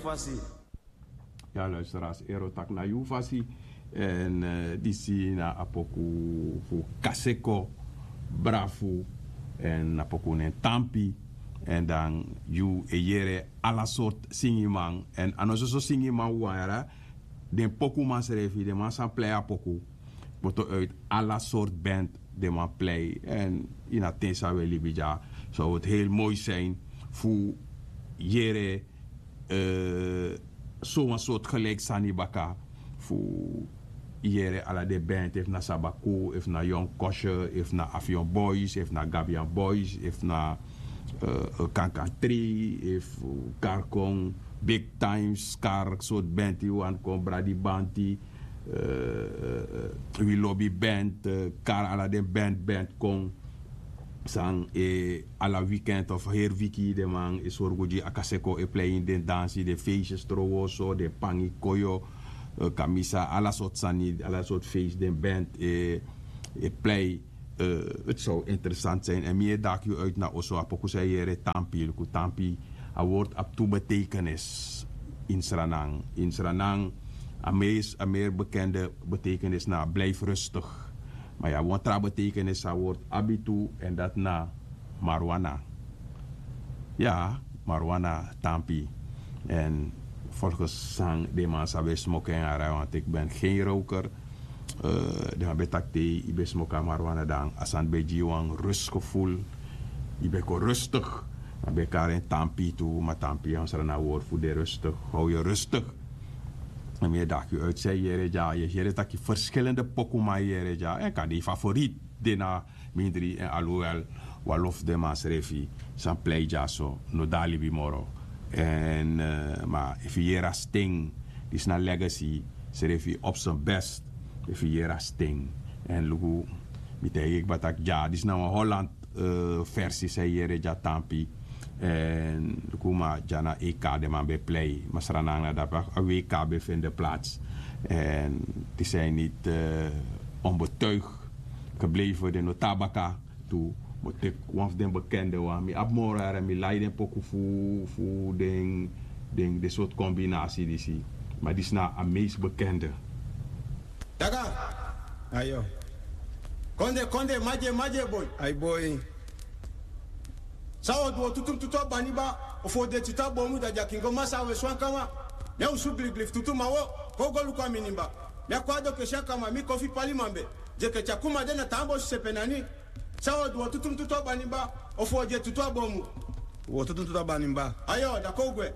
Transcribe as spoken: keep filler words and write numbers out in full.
Fasi. Ya, luisteraars, ero taki na yu fasi. En eh, disi na a poku fu Kaseko, Brafu. En a poku nen Tampi. En dan yu e yere ala sort singiman. En a no soso singiman wara. Den pokuman srefi, den man san plei a poku. Boto uit ala sort band den man plei. En ini a ten san we libi dya, so het heel mooi zijn fu yere eh, so wan sort gelijk sani baka fu yere ala den band, efu na Sabaku, efu na Young Kosher, efu na Avion Boys, efu na Gabian Boys, efu na eh, Kankan Three, efu Karkon, Big Times, Kar sort band, yu wan kon Bradi Banti, eh, Wi Lobi Band, eh, Kar, ala den band, band kon. San e ala weekend of heri wiki den man e sorgu gi a Kaseko e plei ini den dansi, den feestjes, trowoso, den pangi, koyo, eh, kamisa, ala sort sani, ala sort feest den band e, e plei. Eh, het zou interessant zijn. En mi e daki yu uit na oso, a poku san yu yere Tampi, luku Tampi. A woord abi tu betekenis in Sranan. In Sranan, a meest, a meer bekende betekenis na blijf rustig. Maar ya, wan tra betekenis a woord abi tu, en dat na marijuana. Ya, marijuana, Tampi. En volgens san den man san ben smoke en arai, want ik ben geen roker. Eh, den man ben taki te yu ben smoke a marijuana, dan a sani ben gi yu wan rustgevoel. Yu ben kon rustig. Dan ben kari en Tampi tu, ma Tampi, ya, Sranan woord fu de rustig. Hou je rustig. En mi e daki yu uit san yu yere dya, yu yere taki verschillende pokuman yere dya. En kan den favoriet de na mindri, en alhoewel wan lo fu den man srefi san plei dya so no de na libi moro. En eh, ma efu yu yere a Sting, disi na Legacy srefi op zijn best. Efu yu yere a Sting. En luku, mi taigi yu kaba taki dya, disi na wan Holland eh, versi san yu yere dya, Tampi. En luku, ma dya na E K den man ben plei. Ma Sranan, na dape a W K ben fende plaats. En die zijn niet eh, onbetuigd gebleven, den no tan baka tu. Mi o teki wan fu den bekende wan. Mi abi moro, yara, mi lai den poku fu, fu den, den, den sort combinatie disi. Ma disi na a meest bekende. Daga. Ayo. Konde, konde, maje, maje, boy. Ai, boy. San wi o du, o tutu tutu a baniba, o fu o de tutu a bomu, da dyakingo masa a wesi wan kama. Mi a usu gligli fu tutu, ma wo, kon go luku a mi nimba. Mi a kon a do kesi a kama, mi kon fu pali mambe. Dye ke tyakuma de na tan bosi sepe nani. San wi o du, o tutu tutu a baniba, o fu o de tutu a bomu. Wo tutu tutu a baniba. Ayo, da kon gwe.